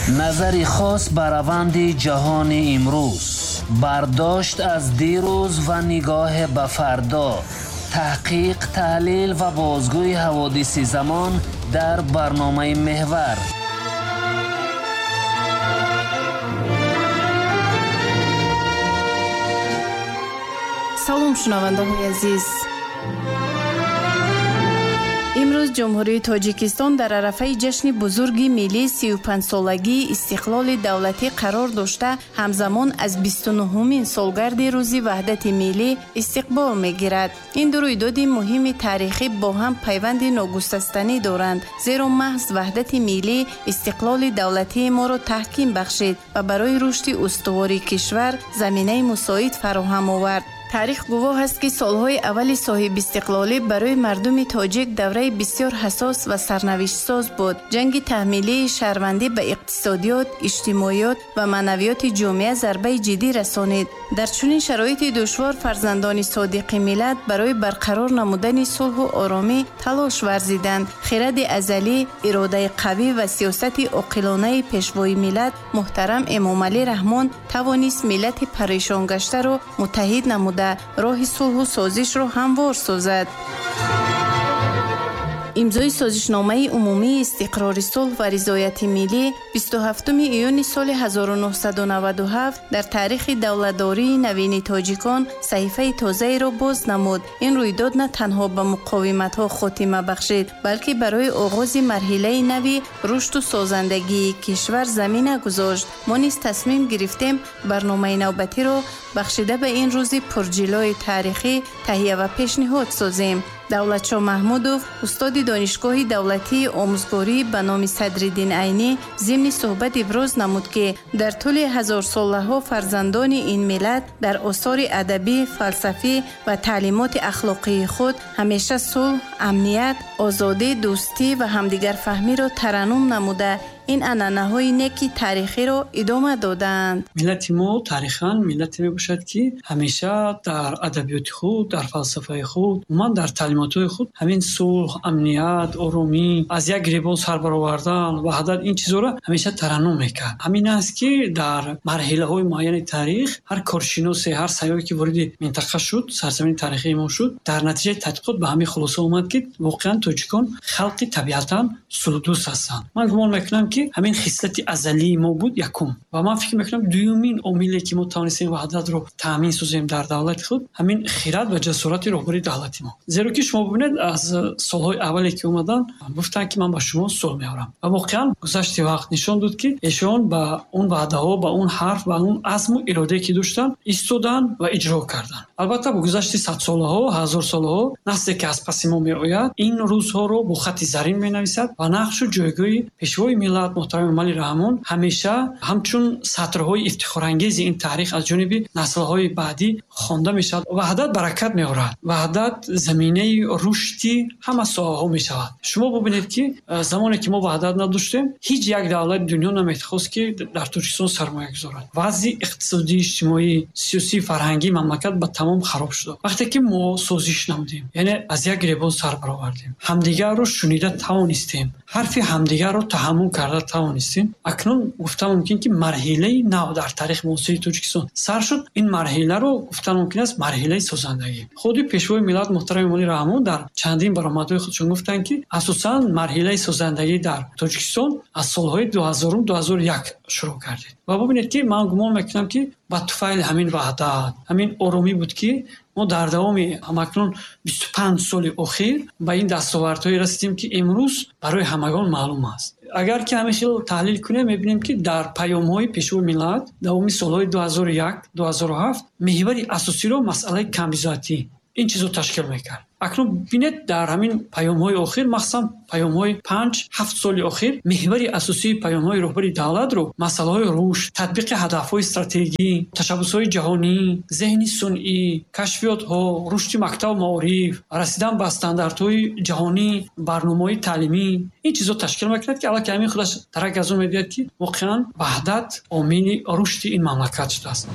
Назари хос ба раванди ҷаҳони имрӯз, бардошт аз дирӯз ва нигоҳ ба фардо, таҳқиқ, таҳлил ва бозгӯи ҳаводиси замон дар барномаи Меҳвар. Салом, шунавандаҳои азиз. Имрӯз Ҷумҳурии Тоҷикистон дар арафаи ҷашни бузурги миллии 35-солагии истиқлоли давлатӣ қарор дошта, ҳамзамон аз 29-умин солгарди рӯзи ваҳдати миллӣ истиқбол мегирад. Ин ду рӯйдоди муҳими таърихӣ бо ҳам пайванди ногусастанӣ доранд, зеро маҳз ваҳдати миллӣ истиқлоли давлатии моро таҳким бахшид ва барои рушди устувори кишвар заминаи мусоид фароҳам овард. Таърих гувоҳ аст, ки солҳои аввали соҳибистиқлолӣ барои мардуми тоҷик давраи бисёр ҳассос ва сарнавиштсоз буд. Ҷанги таҳмилии шаҳрвандӣ ба иқтисодиёт, иҷтимоиёт ва маънавиёти ҷомеа зарбаи ҷиддӣ расонид. Дар чунин шароити душвор фарзандони содиқи миллат барои барқарор намудани сулҳу оромӣ талош варзиданд. Хиради азалӣ, иродаи қавӣ ва сиёсати оқилонаи пешвои миллат муҳтарам Эмомалӣ Раҳмон тавонист миллати парешонгаштаро муттаҳид намуда, роҳи сулҳу созишро ҳамвор созад. Имзои созишномаи умумии истиқрори сулҳ ва ризояти миллӣ 27 июни соли 1997 дар таърихи давлатдории навини тоҷикон саҳифаи тозаеро боз намуд. Ин рӯйдод на танҳо ба муқовиматҳо хотима бахшид, балки барои оғози марҳилаи нави рушду созандагии кишвар замина гузошт. Мо низ тасмим гирифтем барномаи навбатиро бахшида ба ин рӯзи пурҷилои таърихӣ таҳия ва пешниҳод созем. Давлатшо Маҳмудов, устоди Донишгоҳи давлатии омӯзгорӣ ба номи Садриддин Айнӣ, зимни суҳбат иброз намуд, ки дар тӯли ҳазорсолаҳо фарзандони ин миллат дар осори адабӣ, фалсафӣ ва таълимоти ахлоқии худ ҳамеша сулҳ, амният, озодӣ, дӯстӣ ва ҳамдигарфаҳмиро тараннум намуда, ин анъанаҳои неки таърихиро идома додаанд. Миллати мо таърихан миллате мебошад, ки ҳамеша дар адабиёти худ, дар фалсафаи худ, умуман дар таълимотҳои худ ҳамин сулҳ, амният, оромӣ, аз як гиребон сар баровардан, ваҳдат, ин чизҳоро ҳамеша тараннум мекард. Ҳамин аст, ки дар марҳилаҳои муайяни таърих ҳар коршиносе, ҳар сайёҳе, ки вориди минтақа шуд, сарзамини таърихии мо шуд, дар натиҷаи тадқиқот ба ҳамин хулоса омад, ки воқеан тоҷикон халқи табиатан сулҳдӯст ҳастанд. Ман гумон мекунам, ки ҳамин хислати азалии мо буд якум. Ва ман фикр мекунам, дуюмин омиле, ки мо тавонистем ваҳдатро таъмин созем дар давлати худ, ҳамин хират ва ҷасорати роҳбари давлати мо. Зеро ки шумо бибинед, аз солҳои аввале, ки омаданд, гуфтанд, ки ман ба шумо сулҳ меорам. Ва воқеан гузашти вақт нишон дод, ки эшон ба он ваъдаҳо, ба он ҳарф, ба он азму иродае, ки доштанд, истоданд ва иҷро карданд. Албатта, бо гузашти садсолаҳо, ҳазорсолаҳо, насле, ки аз паси мо меояд, ин рӯзҳоро бо хати зарин менависад ва нақшу ҷойгоҳи пешвои миллат муҳтарам Эмомалӣ Раҳмон ҳамеша ҳамчун сатрҳои ифтихорангези ин таърих аз ҷониби наслҳои баъдӣ хонда мешавад. Ваҳдат баракат меорад. Ваҳдат заминаи рушди ҳама соҳаҳо мешавад. Шумо бубинед, ки замоне, ки мо ваҳдат надоштем, ҳеҷ як давлати дунё намехост, ки дар Тоҷикистон сармоя гузорад. Вазъи иқтисодӣ, иҷтимоӣ, сиёсӣ, фарҳангии мамлакат ба тамом хароб шуда. Вақте ки мо созиш намудем, яъне аз як гиребон сар баровардем, ҳамдигарро шунида тавонистем, ҳарфи ҳамдигарро таҳаммул карда тавонистем, акнун гуфта мумкин, ки марҳилаи нав дар таърихи муосири Тоҷикистон сар шуд. Ин марҳиларо гуфта мумкин аст марҳилаи созандагӣ. Худи пешвои миллат муҳтарам Эмомалӣ Раҳмон дар чандин баромадҳои худшон гуфтанд, ки асосан марҳилаи созандагӣ дар Тоҷикистон аз солҳои 2000, 2001 шурӯъ кардед. Ва бубинед, ки ман гумон мекунам, ки ба туфайли ҳамин ваҳдат, ҳамин оромӣ буд, ки мо дар давоми ҳамакнун 25 соли охир ба ин дастовардҳое расидем, ки имрӯз барои ҳамагон маълум аст. Агар ки ҳамин хел таҳлил кунем, мебинем, ки дар паёмҳои пешвои миллат давоми солҳои 2001, 2007 меҳвари асосиро масъалаи камбизоатӣ ин чизро ташкил мекард. Акнун бинед, дар ҳамин паёмҳои охир, махсусан паёмҳои 5-7 соли охир, меҳвари асосии паёмҳои роҳбари давлатро масъалаҳои рушд, татбиқи ҳадафҳои стратегӣ, ташаббусҳои ҷаҳонӣ, зеҳни сунъӣ, кашфиётҳо, рушди мактабу маориф, расидан ба стандартҳои ҷаҳонӣ, барномаҳои таълимӣ, ин чизҳо ташкил мекунад, ки аллакай ҳамин худаш дарак аз он медиҳад, ки воқеан ваҳдат омили рушди ин мамлакат шудааст.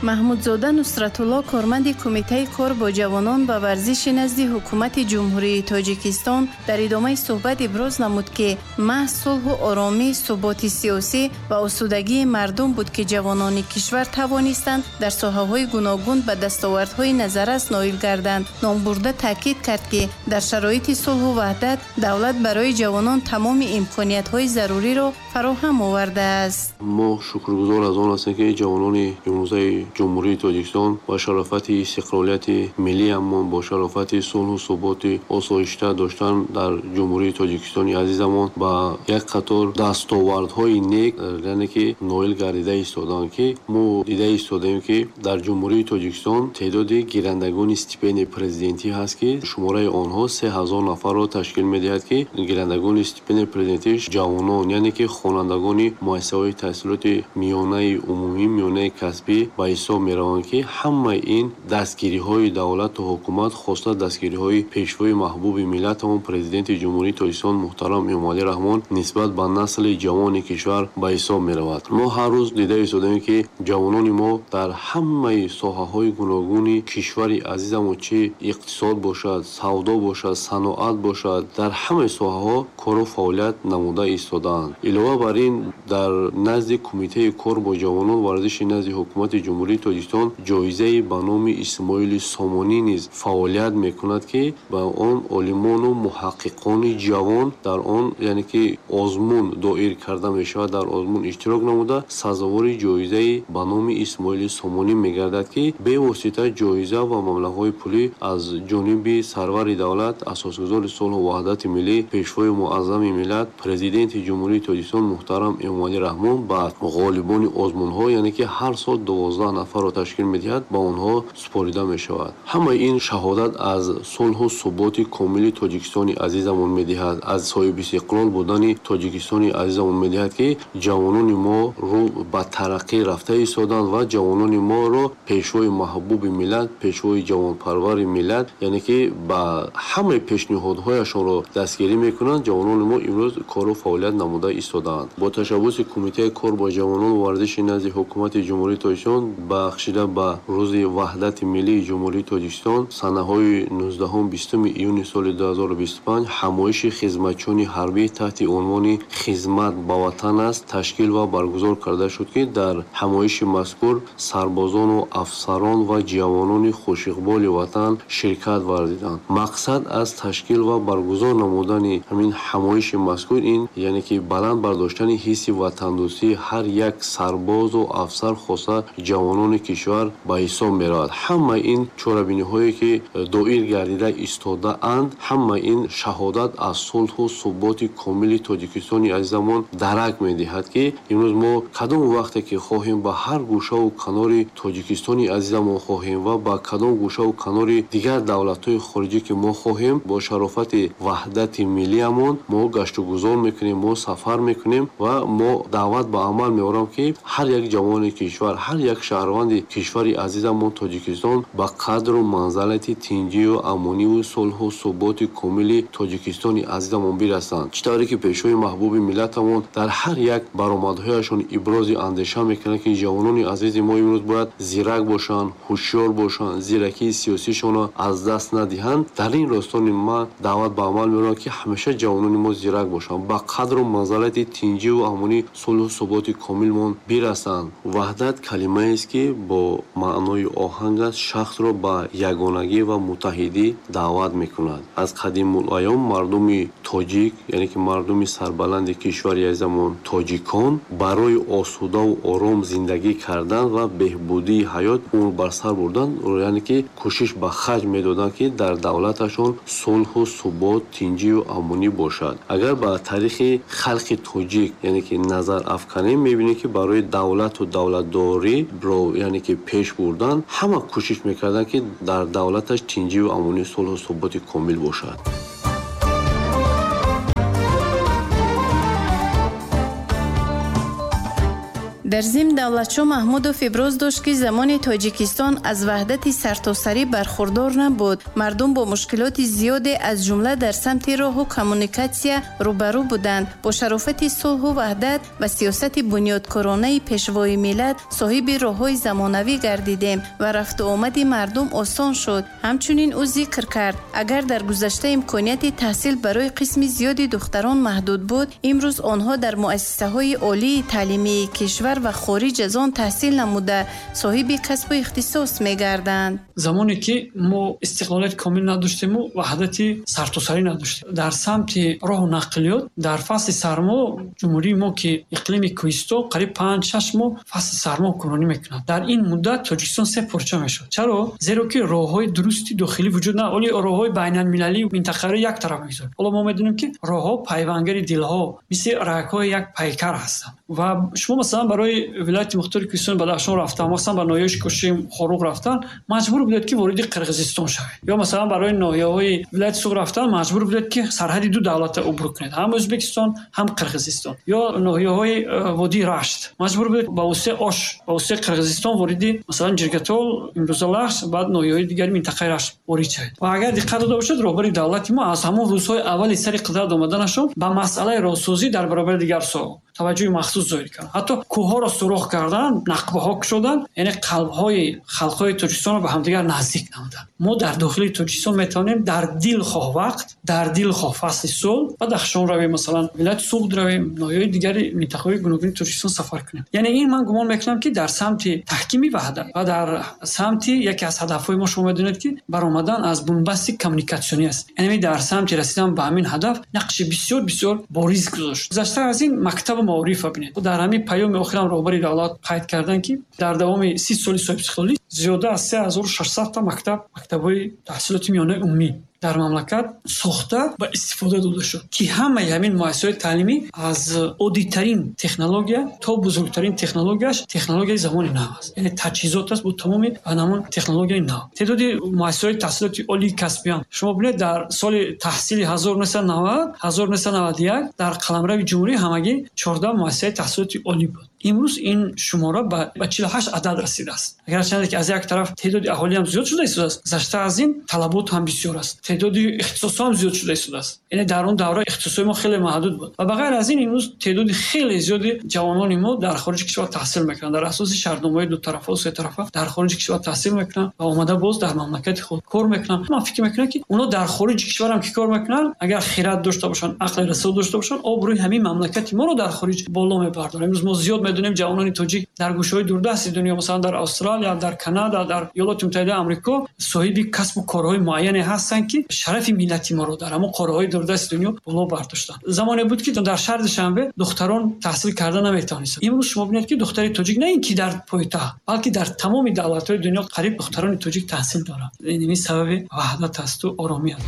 Маҳмудзода Нусратулло, корманди Кумитаи кор бо ҷавонон ва варзиши назди Ҳукумати Ҷумҳурии Тоҷикистон, дар идомаи суҳбат иброз намуд, ки маҳз сулҳу оромӣ, суботи сиёсӣ ва осудагии мардум буд, ки ҷавонони кишвар тавонистанд дар соҳаҳои гуногун ба дастовардҳои назаррас ноил гарданд. Номбурда таъкид кард, ки дар шароити сулҳу ваҳдат давлат барои ҷавонон тамоми имкониятҳои заруриро фароҳам овардааст. Мо шукргузор аз он ҳастем, ки ҷавонони имрӯзаи Ҷумҳурии Тоҷикистон ба шарофати истиқлолияти миллиамон, бо шарофати сулҳу суботи осоишта доштан дар Ҷумҳурии Тоҷикистони азизамон ба як қатор дастовардҳои нек, яъне ки ноил гардида истодаанд, ки мо дида истодаем, ки дар Ҷумҳурии Тоҷикистон теъдоди гирандагони стипендияи президентӣ ҳаст, ки шумораи онҳо 3000 нафарро ташкил медиҳад, ки гирандагони стипендияи президентӣ ҷавонон, яъне ки хонандагони муассисаҳои таҳсилоти миёнаи умумӣ, миёнаи касбӣ ба ҳисоб мераванд, ки ҳамаи ин дастгириҳои давлату ҳукумат, хоса дастгириҳои пешвои маҳбуби миллатамон, Президенти Ҷумҳурии Тоҷикистон муҳтарам Эмомалӣ Раҳмон нисбат ба насли ҷавони кишвар ба ҳисоб меравад. Мо ҳар рӯз дида истодаем, ки ҷавонони мо дар ҳамаи соҳаҳои гуногуни кишвари азизамон, чӣ иқтисод бошад, савдо бошад, саноат бошад, дар ҳамаи соҳаҳо кору фаъолият намуда истодаанд. Илова бар ин, дар назди Кумитаи кор бо ҷавонон варзиши назди Ҳукумати Ҷумҳурии Тоҷикистон ҷоизаи ба номи Исмоили Сомонӣ низ фаъолият мекунад, ки ба он олимону муҳаққиқони ҷавон дар он, яъне ки озмун доир карда мешавад, дар озмун иштирок намуда сазовори ҷоизаи ба номи Исмоили Сомонӣ мегардад, ки бевосита ҷоиза ва маблағҳои пулӣ аз ҷониби сарвари давлат, асосгузори сулҳу ваҳдати миллӣ, пешвои муаззами миллат, Президенти Ҷумҳурии Тоҷикистон муҳтарам Эмомалӣ Раҳмон ба ғолибони озмунҳо, яъне ки ҳар сол 12 нафарро ташкил медиҳад, ба онҳо супорида мешавад. Ҳамаи ин шаҳодат аз сулҳу суботи комили Тоҷикистони азизамон медиҳад, аз соҳибистиқлол будани Тоҷикистони азизамон медиҳад, ки ҷавонони мо рӯ ба тараққӣ рафта истоданд ва ҷавонони моро пешвои маҳбуби миллат, пешвои ҷавонпарвари миллат, яъне ки ба ҳамаи пешниҳодҳояшонро дастгирӣ мекунанд. Ҷавонони мо имрӯз кору фаъолият намуда истодаанд. Бо ташаббуси Кумитаи кор бо ҷавонон ва варзиши назди Ҳукумати Ҷумҳурии Тоҷикистон бахшида ба Рӯзи Ваҳдати Миллии Ҷумҳурии Тоҷикистон санаҳои 19-20 июни соли 2025 ҳамоиши хизматчиёни ҳарбӣ таҳти унвони «Хизмат ба ватан аст» ташкил ва баргузор карда шуд, ки дар ҳамоиши мазкур сарбозону афсарон ва ҷавонони хушиқболи ватан ширкат варзиданд. Мақсад аз ташкил ва баргузор намудани ҳамин ҳамоиши мазкур ин, яъне ки баланд бардоштани ҳисси ватандӯстии ҳар як сарбозу афсар, хоса ҷавонони кишвар ба ҳисоб меравад. Ҳамаи ин чорабиниҳое, ки доир гардида истодаанд, ҳамаи ин шаҳодат аз сулҳу суботи комили Тоҷикистони азизамон дарак медиҳад, ки имрӯз мо кадом вақте ки хоҳем ба ҳар гӯшаву канори Тоҷикистони азизамон хоҳем ва ба кадом гӯшаву канори дигар давлатҳои хориҷӣ ки мо хоҳем, бо шарофати ваҳдати миллиамон мо гаштугузор мекунем, мо сафар мекунем ва мо даъват ба амал меорам, ки ҳар як ҷавони кишвар, ҳар як шаҳрванди кишвари азизамон Тоҷикистон ба қадру манзалати тинҷию амониву сулҳу суботи комили Тоҷикистони азизамон бирасанд. Чӣ тавре ки пешвои маҳбуби миллатамон дар ҳар як баромадҳояшон ибрози андеша мекунанд, ки ҷавонони азизи мо имрӯз бояд зирак бошанд, ҳушёр бошанд, зиракии сиёсишонро аз даст надиҳанд. Дар ин ростони ман даъват ба амал меорам, ки ҳамеша ҷавонони мо зирак бошанд, ба қадру манзалати тинҷиву амонӣ, сулҳу суботи комилмон бирасанд. Ваҳдат калимаест, ки бо маънои оҳанг аст, шахсро ба ягонагӣ ва муттаҳидӣ даъват мекунад. Аз қадимулайём мардуми тоҷик, яъне ки мардуми сарбаланди кишвари азизамон тоҷикон, барои осудаву ором зиндагӣ кардан ва беҳбудии ҳаёт умр бар сар бурдан, яъне ки кӯшиш ба харҷ медоданд, ки дар давлаташон сулҳу субот, тинҷию амонӣ бошад. Агар ба таърихи халқи тоҷик, яъне ки назар афканем, мебинем, ки барои давлату давлатдориро, яъне ки пеш бурдан, ҳама кӯшиш мекарданд, ки дар давлаташ тинҷию амонӣ, сулҳу суботи комил бошад. Дар зимн Давлатшо Маҳмудов иброз дошт, ки замони Тоҷикистон аз ваҳдати сартосарӣ бархурдор набуд. Мардум бо мушкилоти зиёде, аз ҷумла дар самти роҳу коммуникатсия рӯбарӯ буданд. Бо шарофати сулҳу ваҳдат ва сиёсати бунёдкоронаи Пешвои миллат соҳиби роҳҳои замонавӣ гардидем ва рафту омади мардум осон шуд. Ҳамчунин ӯ зикр кард, агар дар гузашта имконияти таҳсил барои қисми зиёди духтарон маҳдуд буд, имрӯз онҳо дар муассисаҳои олии таълимии кишвар ва хориҷ аз он таҳсил намуда, соҳиби касбу ихтисос мегарданд. Замоне ки мо истиқлолияти комил надоштему ваҳдати сартосарӣ надоштем, дар самти роҳу нақлиёт дар фасли сармо ҷумҳурии мо, ки иқлими кӯҳистон, қариб 5-6 моҳ фасли сармо ҳукмронӣ мекунад. Дар ин муддат Тоҷикистон се порча мешуд. Чаро? Зеро ки роҳҳои дурусти дохилӣ вуҷуд на, оли роҳҳои байналмилалӣ минтақавӣ як тараф мегузорад. Ҳоло мо медонем, ки роҳҳо пайвангари дилҳо, мисли рагҳои як пайкар ҳастанд. Ва шумо масалан барои вилояти мухтори Кӯҳистони Бадахшон рафтан, масалан ба ноҳияи Шикошим, Хоруғ рафтан, маҷбур будед, ки вориди Қирғизистон шавед. Ё масалан барои ноҳияҳои вилояти Суғд рафтан маҷбур будед, ки сарҳади ду давлатро убур кунед, ҳам Ӯзбекистон, ҳам Қирғизистон. Ё ноҳияҳои водии Рашт маҷбур будед ба воситаи Ош, ба воситаи Қирғизистон вориди масалан Ҷиргатол, имрӯза Лахш, баъд ноҳияҳои дигари минтақаи Рашт ворид шавед. Ва агар диққат дода бошед, роҳбари давлати мо аз ҳамон рӯзҳои аввали сари қудрат омаданашон ба масъалаи роҳсозӣ дар баробари дигар соҳаҳо таваҷҷӯҳи махсус зоҳир кард. Ҳатто кӯҳҳоро сурох кардан, нақбаҳо кушодан, яъне қалбҳои халқҳои Тоҷикистонро ба ҳамдигар наздик намуданд. Мо дар дохили Тоҷикистон метавонем дар дилхоҳ вақт, дар дилхоҳ фасли сол Бадахшон равем, масалан вилояти Суғд равем, ноҳияҳои дигари минтақаҳои гуногуни Тоҷикистон сафар кунем. Яъне ин ман гумон мекунам, ки дар самти таҳкими ваҳдат ва дар самти яке аз ҳадафҳои мо, шумо медонед, ки баромадан аз бунбасти коммуникатсионӣ аст. Яъне дар самти расидан ба ҳамин ҳадаф нақши бисёр бисёр бориз гузошт. Гузашта аз ин мактабу маориф бинед. Дар ҳамин паёми охирам роҳбари давлат қайд карданд, ки дар давоми 30 соли соҳибистиқлолӣ зиёда аз 3600 та мактаб, мактабҳои таҳсилоти миёнаи умумӣ дар мамлакат сохта ва истифода дода шуд, ки ҳамаи ҳамин муассисаҳои таълимӣ аз оддитарин технология то бузургтарин технологияш технологияи замони нав аст. Яъне таҷҳизот аст бо тамоми ҳамон технологияи нав. Теъдоди муассисаҳои таҳсилоти олии касбиам шумо бинед, дар соли таҳсили 1990 1991 дар қаламрави ҷумҳурӣ ҳамагӣ 14 муассисаи таҳсилоти олӣ буд. Имрӯз ин шумора ба 48 адад расидааст. Агарчанде ки аз як тараф теъдоди аҳолиам зиёд шуда истодааст, гузашта аз ин талабот ҳам бисёр аст, теъдоди ихтисосҳо ҳам зиёд шуда истодааст. Яъне дар он давра ихтисосҳои мо хеле маҳдуд буд. Ва ба ғайр аз ин имрӯз теъдоди хеле зиёди ҷавонони мо дар хориҷи кишвар таҳсил мекунанд, дар асоси шартномаҳои дутарафа ва сетарафа дар хориҷи кишвар таҳсил мекунанд ва омада боз дар мамлакати худ кор мекунанд. Ман фикр мекунам, ки онҳо дар хориҷи кишварам ки кор мекунанд, агар хират дошта бошанд, ақли расо дошта бошанд, обрӯи ҳамин мамлакати моро дар хориҷ боло мебардоранд. Имрӯз мо зиёд медонем ҷавонони тоҷик дар гӯшаҳои дурдасти дунё, масалан дар Австралия, дар Канада, дар Иёлоти Муттаҳидаи Амрико соҳиби касбу корҳои муайяне ҳастанд, ки шарафи миллати моро дар ҳамон қораҳои дурдасти дунё боло бардоштанд. Замоне буд, ки дар шаҳри Душанбе духтарон таҳсил карда наметавонистанд. Имрӯз шумо бинед, ки духтари тоҷик на ин ки дар пойтахт, балки дар тамоми давлатҳои дунё қариб духтарони тоҷик таҳсил доранд. Ин сабаби ваҳдат асту оромӣ аст.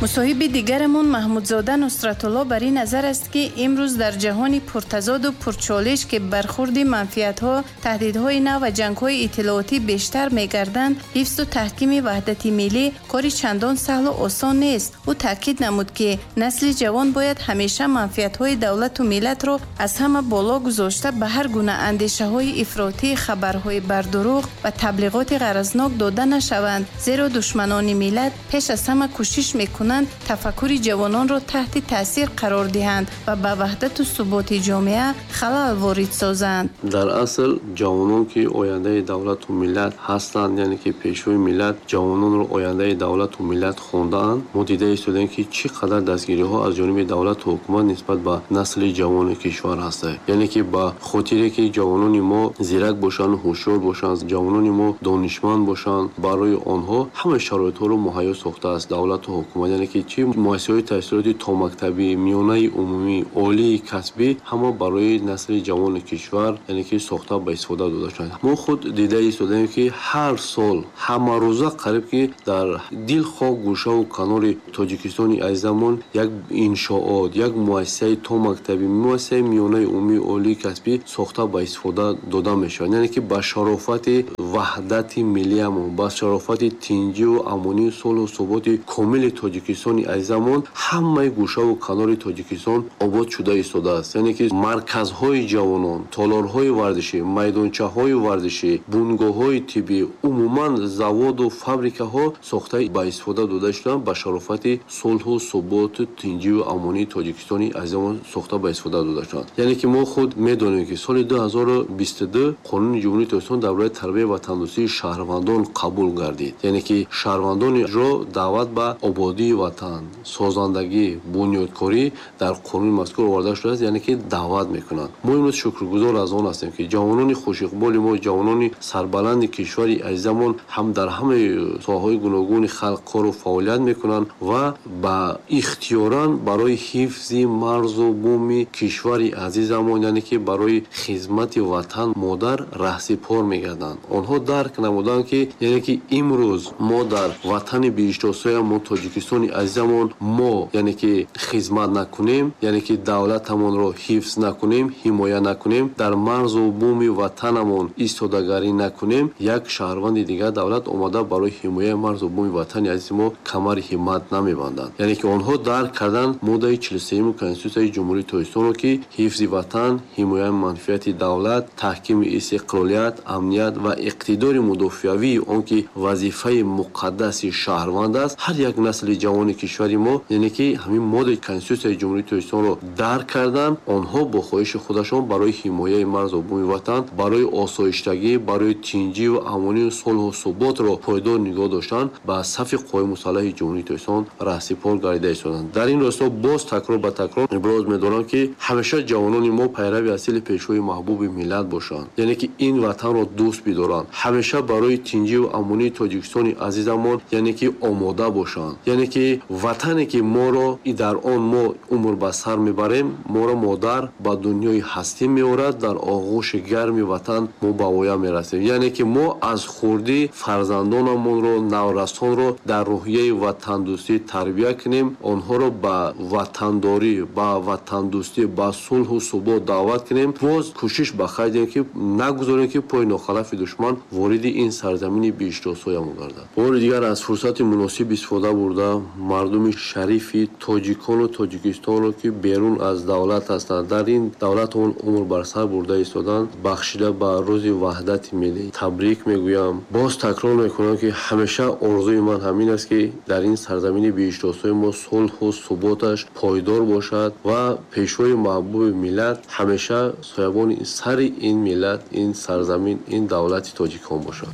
Мусоҳиби дигарамон Маҳмудзода Нусратулло бар ин назар аст, ки имрӯз дар ҷаҳони пуртазоду пурчолиш, ки бархурди манфиатҳо, таҳдидҳои нав ва ҷангҳои иттилоотӣ бештар мегарданд, ҳифзу таҳкими ваҳдати миллӣ кори чандон саҳлу осон нест. Ӯ таъкид намуд, ки насли ҷавон бояд ҳамеша манфиатҳои давлату миллатро аз ҳама боло гузошта, ба ҳар гуна андешаҳои ифротӣ, хабарҳои бардурӯғ ва таблиғоти ғаразнок дода нашаванд, зеро душманони миллат пеш аз ҳама кӯшиш мекунанд тафаккури ҷавононро таҳти таъсир қарор диҳанд ва ба ваҳдату суботи ҷомеа халал ворид созанд. Дар асл ҷавонон, ки ояндаи давлату миллат ҳастанд, яъне ки пешвои миллат ҷавононро ояндаи давлату миллат хондаанд, мо дида истодаем, ки чӣ қадар дастгириҳо аз ҷониби давлату ҳукумат нисбат ба насли ҷавони кишвар ҳастанд. Яъне ки ба хотире ки ҷавонони мо зирак бошанд, ҳушёр бошанд, ҷавонони мо донишманд бошанд, барои онҳо ҳама шароитҳоро муҳайё сохтааст давлату ҳукумат. Яъне ки чи муассисаҳои таҳсилоти томактабӣ, миёнаи умумӣ, олии касбӣ ҳама барои насли ҷавони кишвар, яъне ки сохта ба истифода дода шуданд. Мо худ дида истодаем, ки ҳар сол ҳамарӯза қариб ки дар дилхоҳ гӯшаву канори Тоҷикистони азизамон як иншоот, як муассисаи томактабӣ, муассисаи миёнаи умумии олии касбӣ сохта ба истифода дода мешавад. Яъне ки ба шарофати ваҳдати миллиямон, ба шарофати тинҷиву амонию сулҳу суботи комили Тоҷикистони азизамон ҳамаи гӯшаву канори Тоҷикистон обод шуда истодааст. Яъне ки марказҳои ҷавонон, толорҳои варзишӣ, майдончаҳои варзишӣ, бунгоҳҳои тиббӣ, умуман заводу фабрикаҳо сохта ба истифода дода шуданд, ба шарофати сулҳу суботу тинҷиву амонии Тоҷикистони азизамон сохта ба истифода дода шуданд. Яъне ки мо худ медонем, ки соли 2022 Қонуни Ҷумҳурии Тоҷикистон дар бораи тарбияи ватандӯстии шаҳрвандон қабул гардид. Яъне ки шаҳрвандонро даъват ба ободии ватан, созандагӣ, бунёдкорӣ дар қонуни мазкур оварда шудааст, яъне ки даъват мекунанд. Мо имрӯз шукргузор аз он ҳастем, ки ҷавонони хушиқболи мо, ҷавонони сарбаланди кишвари азизамон ҳам дар ҳамаи соҳаҳои гуногуни халқ кору фаъолият мекунанд ва ба ихтиёран барои ҳифзи марзу буми кишвари азизамон, яъне ки барои хизмати ватан модар раҳсипор мегарданд. Онҳо дарк намуданд, ки яъне ки имрӯз мо дар ватани биҳиштосоямон Тоҷикистони азизамон мо яъне ки хизмат накунем, яъне ки давлатамонро ҳифз накунем, ҳимоя накунем, дар марзу буми ватанамон истодагарӣ накунем, як шаҳрванди дигар давлат омада барои ҳимояи марзу буми ватани азизи мо камари ҳиммат намебанданд. Яъне ки онҳо дарк карданд моддаи 43 Конститутсияи Ҷумҳурии Тоҷикистонро, ки ҳифзи ватан, ҳимояи манфиати давлат, таҳкими истиқлолият, амният ва иқтидори мудофиавии он ки вазифаи муқаддаси шаҳрванд аст. Ҳар як насли ҷавони кишвари мо, яъне ки ҳамин моддаи Конститутсияи Ҷумҳурии Тоҷикистонро дарк карданд, онҳо бо хоҳиши худашон барои ҳимояи марзу буми ватан, барои осоиштагӣ, барои тинҷиву амонию сулҳу суботро пойдор нигоҳ доштан ба сафи қувваҳои мусаллаҳи Ҷумҳурии Тоҷикистон раҳсипор гардида истоданд. Дар ин росто боз такрор ба такрор иброз медорам, ки ҳамеша ҷавонони мо пайрави асили пешвои маҳбуби миллат бошанд, яъне ки ин ватанро дӯст бидоранд, ҳамеша барои тинҷиву амонии Тоҷикистони азизамон яъне ки омода бошанд, яъне ки ватане ки моро дар он мо умр ба сар мебарем, моро модар ба дунёи ҳастӣ меорад, дар оғӯши гарми ватан мо ба воя мерасем. Яъне ки мо аз хурдӣ фарзандонамонро, наврасонро дар рӯҳияи ватандӯстӣ тарбия кунем, онҳоро ба ватандорӣ, ба ватандӯстӣ, ба сулҳу субот даъват кунем. Боз кӯшиш ба хайр диҳем, ки нагузорем, ки пои нохалафи душман вориди ин сарзамини биҳиштосоямон гардад. Бори дигар аз фурсати муносиб истифода бурда мардуми шарифи тоҷикону Тоҷикистонро, ки берун аз давлат ҳастанд, дар ин давлат он умр бар сар бурда истоданд, бахшида ба рӯзи ваҳдати миллӣ табрик мегӯям. Боз такрор мекунам, ки ҳамеша орзуи ман ҳамин аст, ки дар ин сарзамини биҳиштосои мо сулҳу суботаш пойдор бошад ва пешвои маҳбуби миллат ҳамеша соябони сари ин миллат, ин сарзамин, ин давлати тоҷикон бошад.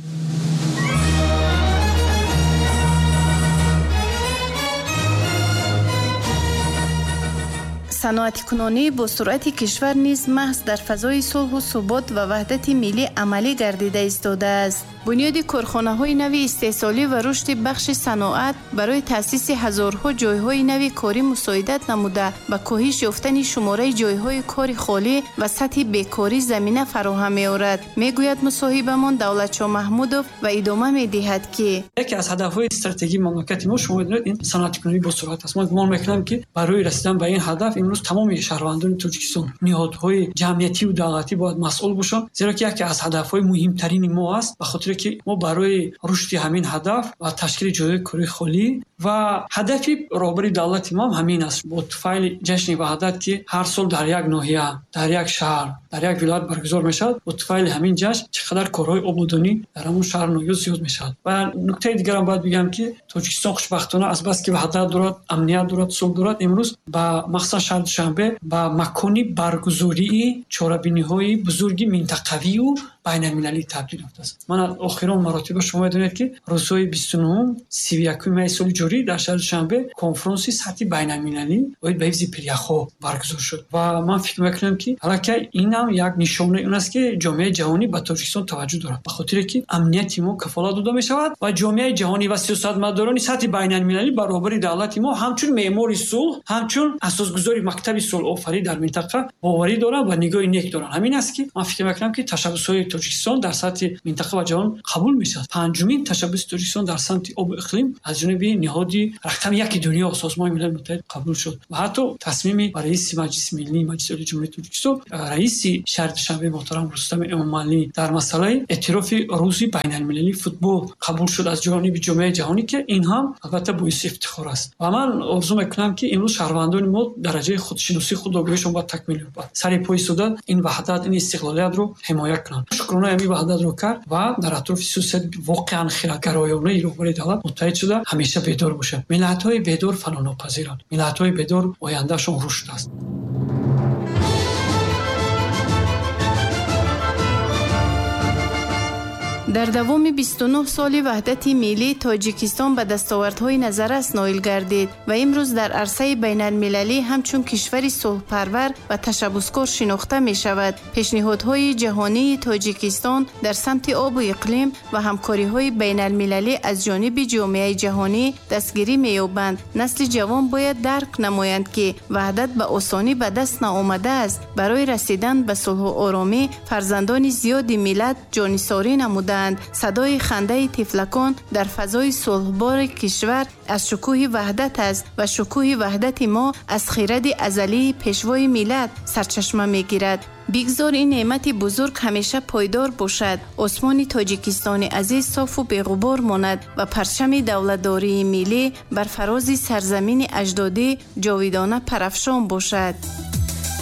Саноатикунонии босуръати кишвар низ маҳз дар фазои сулҳу субот ва ваҳдати миллӣ амалӣ гардида истодааст. Бунёди корхонаҳои нави истеҳсолӣ ва рушди бахши саноат барои таъсиси ҳазорҳо ҷойҳои нави корӣ мусоидат намуда, ба коҳиш ёфтани шумораи ҷойҳои кори холӣ ва сатҳи бекорӣ замина фароҳам меорад, мегӯяд мусоҳибамон Давлатшо Маҳмудов ва идома медиҳад, ки яке аз ҳадафҳои стратегии мамлакати мо, шумо медонед, ин саноатикунонии босуръат аст. Ман гумон мекунам, ки барои расидан ба ин ҳадаф имрӯз тамоми шаҳрвандони Тоҷикистон, ниҳодҳои ҷамъиятиву давлатӣ бояд масъул бошанд, зеро ки яке аз ҳадафҳои муҳимтарини мо аст, ба хотире ки мо барои рушди ҳамин ҳадаф ва ташкили ҷойҳои кории холӣ ва ҳадафи роҳбари давлати мо ҳам ҳамин аст. Бо туфайли ҷашни ваҳдат, ки ҳар сол дар як ноҳия, дар як шаҳр, дар як вилоят баргузор мешавад, бо туфайли ҳамин ҷашн чӣ қадар корҳои ободонӣ дар ҳамон шаҳру ноҳия зиёд мешавад. Ва нуктаи дигарам бояд бигӯям, ки Тоҷикистон хушбахтона азбаски ваҳдат дорад, амният дорад, сулҳ дорад, имрӯз ба махсусан шаҳри Душанбе ба макони баргузории чорабиниҳои бузурги минтақавию байналмилалӣ табдил ёфтааст. Ман охирон маротиба шумо медонед, ки рӯзҳои 29, 31 майи соли ҷорӣ дар шаҳри Душанбе конфронси сатҳи байналмилалӣ оид ба ҳифзи пиряхҳо баргузор шуд ва ман фикр мекунам, ки аллакай ин ҳам як нишонаи он аст, ки ҷомеаи ҷаҳонӣ ба Тоҷикистон таваҷҷӯҳ дорад, ба хотире ки амнияти мо кафолат дода мешавад ва ҷомеаи ҷаҳонӣ ва сиёсатмадорони сатҳи байналмилалӣ ба роҳбари давлати мо ҳамчун меъмори сулҳ, ҳамчун асосгузори мактаби сулҳофарӣ дар минтақа боварӣ доранд ва нигоҳи нек доранд. Ҳамин аст, ки ман фикр мекунам, ки ташаббусҳои Тоҷикистон дар сатҳи минтақа ва ҷаҳон қабул мешавад. Панҷумин ташаббуси Тоҷикистон дар самти обу иқлим аз ҷониби ниҳоди рақами яки дунё, Созмони Милали Муттаҳид, қабул шуд ва ҳатто тасмими раиси Маҷлиси Миллӣ, Маҷлиси Олии Ҷумҳурии Тоҷикистон, раиси шаҳри Душанбе муҳтарам Рустами Эмомалӣ дар масъалаи эътирофи рӯзи байналмилалии футбол қабул шуд аз ҷониби ҷомеаи ҷаҳонӣ, ки ин ҳам албатта боиси ифтихор аст. Ва ман орзу мекунам, ки имрӯз шаҳрвандони мо дараҷаи худшиносӣ, худогоҳишон бояд такмил ёбад, сари по истода ин ваҳдат, ин истиқлолиятро ҳимоя кунанд. Шукронаи ҳамин ваҳдатро кард ва дар атрофи сиёсати воқеан хирадгароёнаи роҳбари давлат муттаҳид шуда ҳамеша бедор бошанд. Миллатҳои бедор фанонопазиранд, миллатҳои бедор ояндаашон рушд аст. Дар давоми 29 соли ваҳдати миллӣ Тоҷикистон ба дастовардҳои назаррас ноил гардид ва имрӯз дар арсаи байналмилалӣ ҳамчун кишвари сулҳпарвар ва ташаббускор шинохта мешавад. Пешниҳодҳои ҷаҳонии Тоҷикистон дар самти обу иқлим ва ҳамкориҳои байналмилалӣ аз ҷониби ҷомеаи ҷаҳонӣ дастгирӣ меёбанд. Насли ҷавон бояд дарк намоянд, ки ваҳдат ба осонӣ ба даст наомадааст. Барои расидан ба сулҳу оромӣ фарзандони зиёди миллат ҷонисорӣ намуданд. Садои хандаи тифлакон дар фазои сулҳбори кишвар аз шукӯҳи ваҳдат аст ва шукӯҳи ваҳдати мо аз хиради азалии пешвои миллат сарчашма мегирад. Бигзор ин неъмати бузург ҳамеша пойдор бошад. Осмони Тоҷикистони азиз софу беғубор монад ва парчами давлатдории миллӣ бар фарози сарзамини аҷдодӣ ҷовидона парафшон бошад.